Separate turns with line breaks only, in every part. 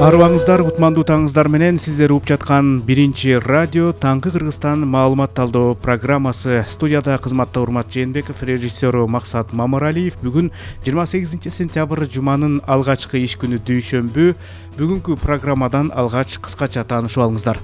Арыбаңыздар, кутмандуу таңыңыздар менен сиздер угуп жаткан биринчи радио Таңкы Кыргызстан маалымат талдоо программасы. Студияда кызматта Урмат Жээнбеков, режиссеру Максат Мамаралиев. Бүгүн 28 сентябрь жуманын алгачкы иш күнү дүйшөмбү. Бүгүнкү программадан алгач кыскача таанышып алыңыздар.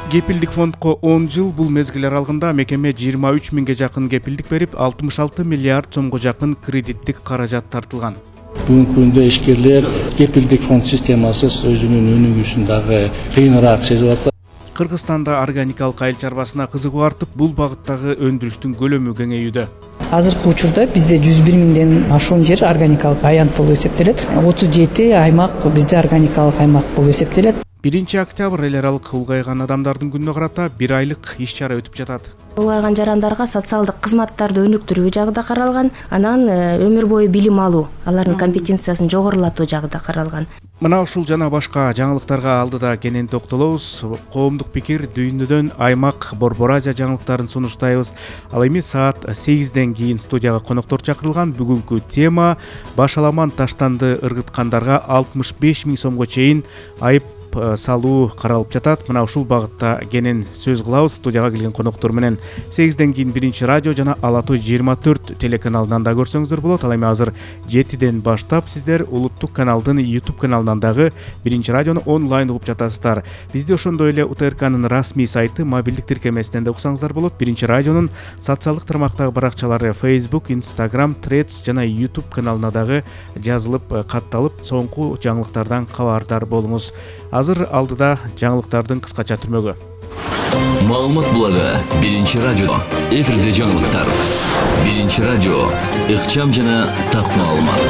Кепилдик фондко 10 жыл. Бул мезгил аралыгында мекеме 23 миңге жакын кепилдик берип, 66 миллиард сомго жакын кредиттик каражат тартылган.
Бүгүнкү күндө ишкерлер кепилдик фонд системасыз өзүнүн өнүгүүсүн дагы кыйыныраак сезип атат.
Кыргызстанда органикалык айыл чарбасына кызыгуу артып, бул багыттагы өндүрүштүн көлөмү кеңеюүдө.
Азыркы учурда бизде 101 миңден ашуун жер органикалык аянт болуп эсептелет. 37 аймак бизде органикалык аймак болуп эсептелет.
1 октябрь эл аралык улгайган адамдардын күнүнө карата 1 айлык иш-чара өтүп жатат.
Улгайган жарандарга социалдык кызматтарды өнүктүрүү жагы да каралган, анан өмүр бою билим алуу, алардын компетенциясын жогорулатуу жагы да каралган.
Мына ушул жана башка жаңылыктарга алдыда кенен токтолобуз. Коомдук пикир дүйнөдөн аймак Борбор Азия жаңылыктарын сунуштайбыз. Ал эми саат 8ден кийин студияга коноктор чакырылган. Бүгүнкү тема башаламан таштанды ыргыткандарга 65 миң сомго чейин айып салуу каралып жатат. Мына ушул багытта кенен сөз кылабыз. Студияга келген коноктор менен 8ден кийин биринчи радио жана Ала Той 24 телеканалынан да көрсөңүздөр болот. Ал эми азыр 7ден баштап сиздер улуттук каналдын YouTube каналынан дагы биринчи радиону онлайн угуп жатасыздар. Бизди ошондой эле УТРКнын расмий сайты, мобилдик тиркемесинен да уксаңыздар болот. Биринчи радионун социалдык тармактагы баракчалары Facebook, Instagram, Threads жана YouTube каналына дагы жазылып, катталып, соңку жаңылыктардан кабардар болуңуз. Азыр алдыда жаңылыктардын кыскача түрмөгү.
Маалымат блогу биринчи радио. Эфирде жаңылыктар. Биринчи радио. Ыкчам жана так маалымат.